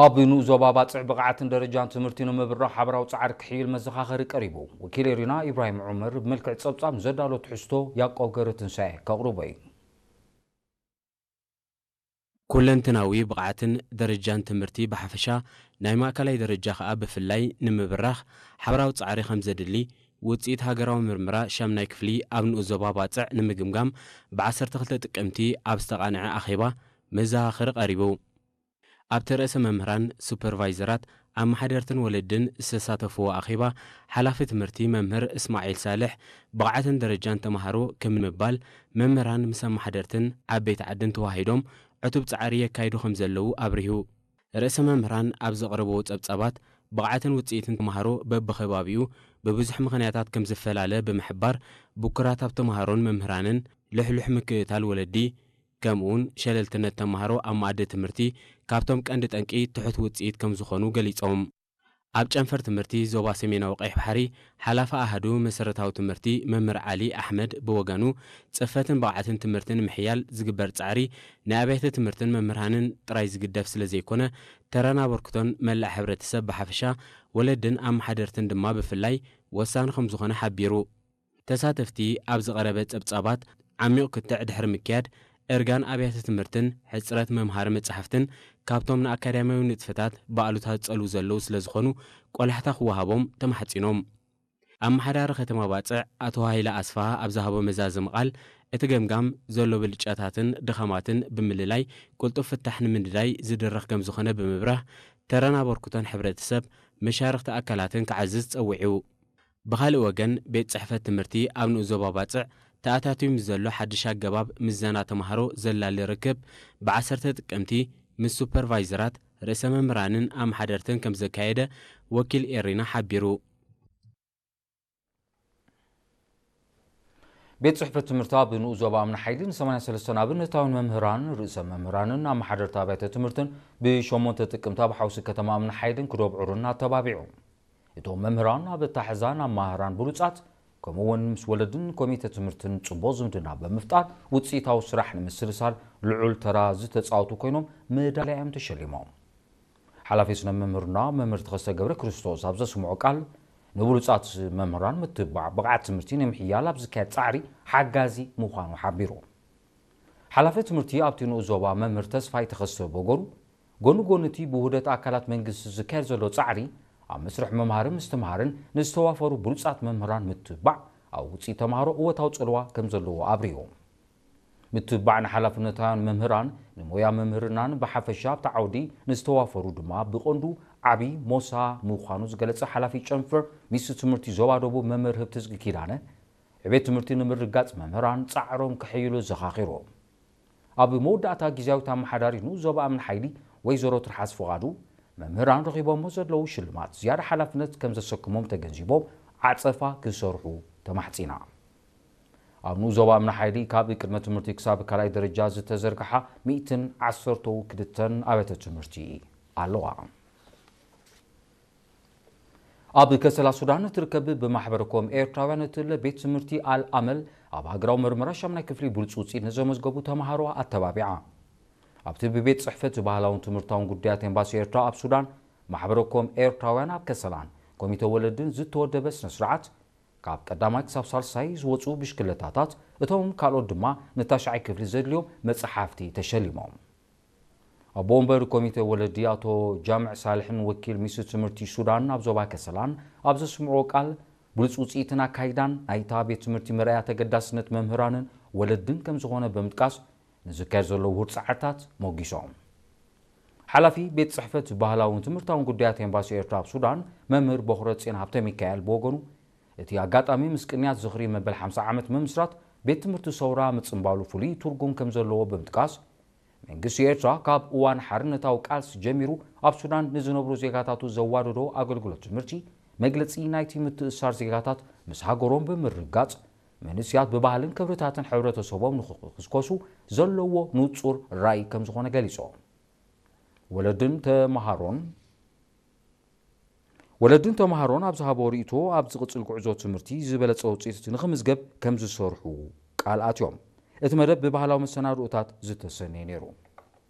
ኣብ ንኡስ ዞባ ባጽዕ ብቕዓትን ደረጃን ትምህርቲ ንምብራኽ ሓበራዊ ጻዕሪ ክሕይል መዘኻኸሪ ቀሪቡ። ወኪል ኤሪና ኢብራሂም ዑመር ብመልክዕ ጸብጻብ ንዘዳሎ ትሕዝቶ ያዕቆብ ገብረትንሳኤ ከቕርቦ እዩ። ኩለንትናዊ ብቕዓትን ደረጃን ትምህርቲ ብሓፈሻ፣ ናይ ማእከላይ ደረጃ ከኣ ብፍላይ ንምብራኽ ሓበራዊ ጻዕሪ ከም ዘድሊ፣ ውጽኢት ሃገራዊ ምርምራ ሻምናይ ክፍሊ ኣብ ንኡስ ዞባ ባጽዕ ንምግምጋም ብ12 ጥቅምቲ ኣብ ዝተቓንዐ ኣኼባ መዘኻኸሪ ቀሪቡ። ኣብቲ ርእሰ መምህራን፣ ሱፐርቫይዘራት፣ ኣመሓደርትን ወለድን ዝተሳተፍዎ ኣኼባ፣ ሓላፊ ትምህርቲ መምህር እስማዒል ሳልሕ፣ ብቕዓትን ደረጃን ተማሃሮ ከም ምባል፣ መምህራን ምስ ኣመሓደርትን ዓበይቲ ዓድን ተዋሂዶም ዕቱብ ጻዕሪ የካይዱ ከም ዘለዉ ኣብሪሁ። ርእሰ መምህራን ኣብ ዘቕረብዎ ጸብጻባት፣ ብቕዓትን ውጽኢትን ተማሃሮ በብኸባቢኡ ብብዙሕ ምኽንያታት ከም ዝፈላለ ብምሕባር፣ ብኩራት ኣብ ተማሃሮን መምህራንን፣ ልሕሉሕ ምክትታል ወለዲ፣ ከምኡውን ሸለልትነት ተማሃሮ ኣብ መኣዲ ትምህርቲ ካብቶም ቀንዲ ጠንቂ ትሑት ውጽኢት ከም ዝኾኑ ገሊጾም። ኣብ ጨንፈር ትምህርቲ ዞባ ሰሜናዊ ቀይሕ ባሕሪ፣ ሓላፊ ኣሃዱ መሰረታዊ ትምህርቲ መምህር ዓሊ ኣሕመድ ብወገኑ፣ ጽፈትን ብቕዓትን ትምህርቲ ንምሕያል ዝግበር ጻዕሪ፣ ናይ ኣብያተ ትምህርትን መምህራንን ጥራይ ዝግደፍ ስለ ዘይኮነ፣ ተራን ኣበርክቶን መላእ ሕብረተሰብ ብሓፈሻ፣ ወለድን ኣመሓደርትን ድማ ብፍላይ ወሳኒ ከም ዝኾነ ሓቢሩ። ተሳተፍቲ ኣብ ዝቐረበ ጸብጻባት ዓሚቕ ክትዕ ድሕሪ ምክያድ፣ እርጋን ኣብያተ ትምህርትን ሕጽረት መምሃሪ መጻሕፍትን ካብቶም ንኣካዳሚያዊ ንጥፈታት ብኣሉታ ዝጸልዉ ዘለዉ ስለ ዝኾኑ፣ ቆላሕታ ክወሃቦም ተማሕጺኖም። ኣመሓዳሪ ከተማ ባጽዕ ኣቶ ሃይለ ኣስፍሃ ኣብ ዝሃቦ መዛዘሚ ቃል፣ እቲ ገምጋም ዘሎ ብልጫታትን ድኻማትን ብምልላይ፣ ቅልጡፍ ፍታሕ ንምንዳይ ዝድረኽ ከም ዝኾነ ብምብራህ፣ ተራን ኣበርክቶን ሕብረተሰብ፣ መሻርኽቲ ኣካላትን ክዓዝዝ ጸዊዑ። ብኻልእ ወገን፣ ቤት ጽሕፈት ትምህርቲ ኣብ ንኡስ ዞባ ባጽዕ ተኣታትዩ ምስ ዘሎ ሓድሽ ኣገባብ ምዘና ተማሃሮ ዘላሊ ርክብ፣ ብ10 ጥቅምቲ ምስ ሱፐርቫይዘራት፣ ርእሰ መምህራንን ኣመሓደርትን ከም ዘካየደ ወኪል ኤሪና ሓቢሩ። ቤት ጽሕፈት ትምህርቲ ኣብ ንኡስ ዞባ እምኒ ሓይሊ ን83 ኣብነታውያን መምህራን፣ ርእሰ መምህራንን ኣመሓደርቲ ኣብያተ ትምህርትን ብ8 ጥቅምቲ ኣብ ሓውሲ ከተማ እምኒ ሓይልን ክዶብ ዑርን ኣተባቢዑ። እቶም መምህራን ኣብ ኣታሕዛን ኣመሃራን ብሉጻት፣ ከምኡ እውን ምስ ወለድን ኮሚተ ትምህርትን ጽቡቕ ዝምድና ብምፍጣር ውጽኢታዊ ስራሕ ንምስልሳል ልዑል ተራ ዝተጻወቱ ኮይኖም፣ መዳልያ እዮም ተሸሊሞም። ሓላፊ ስነ መምህርና መምህር ተኸስተ ገብረ ክርስቶስ ኣብ ዘስምዖ ቃል፣ ንብሉጻት መምህራን ምትብባዕ ብቕዓት ትምህርቲ ንምሕያል ኣብ ዝካየድ ጻዕሪ ሓጋዚ ምዃኑ ሓቢሩ። ሓላፊ ትምህርቲ ኣብቲ ንኡስ ዞባ መምህር ተስፋይ ተኸስተ በገሩ፣ ጎኒ ጎኒ እቲ ብውህደት ኣካላት መንግስቲ ዝካየድ ዘሎ ጻዕሪ፣ ኣብ መስርሕ መምሃሪ ምስትምሃርን ንዝተዋፈሩ ብሉጻት መምህራን ምትብባዕ ኣብ ውጽኢት ተማሃሮ እወታዊ ጽልዋ ከም ዘለዎ ኣብሪሁ። ምትብባዕ ንሓላፍነታውያን መምህራን፣ ንሞያ መምህርናን ብሓፈሻ ኣብቲ ዓውዲ ንዝተዋፈሩ ድማ ብቐንዱ ዓቢ ሞሳ ምዃኑ ዝገለጸ ሓላፊ ጨንፈር ሚኒስትሪ ትምህርቲ ዞባ ደቡብ መምህር ህብትዝጊ ኪዳነ፣ ዕቤት ትምህርቲ ንምርግጋጽ መምህራን ጻዕሮም ከሕይሉ ዘኻኺሩ። ኣብ መወዳእታ ግዝያዊት ኣመሓዳሪ ንኡስ ዞባ እምኒ ሓይሊ ወይዘሮ ትርሓስ ፍቓዱ፣ መምህራን ረኺቦሞ ዘለዉ ሽልማት ዝያዳ ሓላፍነት ከም ዘሰክሞም ተገንዚቦም ዓጸፋ ክሰርሑ ተማሕጺና። ኣብ ንኡስ ዞባ እምኒ ሓይሊ ካብ ቅድመ ትምህርቲ ክሳብ ካልኣይ ደረጃ ዝተዘርግሓ ሚእትን ዓሰርተው ክልተን ኣብያተ ትምህርቲ ኣለዋ። ኣብ ከሰላ ሱዳን እትርከብ ብማሕበረ ኮም ኤርትራውያን እትእለ ቤት ትምህርቲ ኣል ኣመል ኣብ ሃገራዊ መርመራ ሻምናይ ክፍሊ ብሉጽ ውጽኢት ንዘመዝገቡ ተማሃሮ ኣተባቢዓ። ኣብቲ ብቤት ጽሕፈት ባህላውን ትምህርታውን ጉዳያት ኤምባሲ ኤርትራ ኣብ ሱዳን፣ ማሕበረ ኮም ኤርትራውያን ኣብ ከሰላን ኮሚተ ወለድን ዝተወደበ ስነ ስርዓት፣ ካብ ቀዳማይ ክሳብ ሳልሳይ ዝወጹ ብሽክለታታት፣ እቶም ካልኦት ድማ ንታሽዓይ ክፍሊ ዘድልዮም መጽሓፍቲ ተሸሊሞም። ኣቦ ወንበር ኮሚተ ወለዲ ኣቶ ጃምዕ ሳልሕን ወኪል ሚኒስትሪ ትምህርቲ ሱዳን ኣብ ዞባ ከሰላን ኣብ ዘስምዕዎ ቃል፣ ብሉጽ ውጽኢትን ኣካይዳን ናይታ ቤት ትምህርቲ መርኣያ ተገዳስነት መምህራንን ወለድን ከም ዝኾነ ብምጥቃስ፣ ንዝካየድ ዘሎ ውሁድ ጻዕርታት ሞጊሶም። ሓላፊ ቤት ጽሕፈት ባህላውን ትምህርታውን ጉዳያት ኤምባሲ ኤርትራ ኣብ ሱዳን መምህር ቦኽረ ጽዮን ሃብተ ሚካኤል ብወገኑ፣ እቲ ኣጋጣሚ ምስ ቅንያት ዝኽሪ መበል ሓምሳ ዓመት ምምስራት ቤት ትምህርቲ ሰውራ ምጽንባሉ ፍሉይ ትርጉም ከም ዘለዎ ብምጥቃስ፣ መንግስቲ ኤርትራ ካብ እዋን ሓርነታዊ ቃልሲ ጀሚሩ ኣብ ሱዳን ንዝነብሩ ዜጋታቱ ዘዋደዶ ኣገልግሎት ትምህርቲ፣ መግለጺ ናይቲ ምትእስሳር ዜጋታት ምስ ሃገሮም ብምርጋጽ፣ መንእስያት ብባህልን ክብርታትን ሕብረተሰቦም ንኽኽስኮሱ ዘለዎ ንጹር ራእይ ከም ዝኾነ ገሊጾም። ወለድን ተመሃሮን ወለድን ተመሃሮን ኣብ ዝሃቦ ርእይቶ፣ ኣብ ዝቕጽል ጉዕዞ ትምህርቲ ዝበለጸ ውጽኢት ንኽምዝገብ ከም ዝሰርሑ ቃል ኣትዮም። እቲ መደብ ብባህላዊ መሰናድኦታት ዝተሰነየ ነይሩ።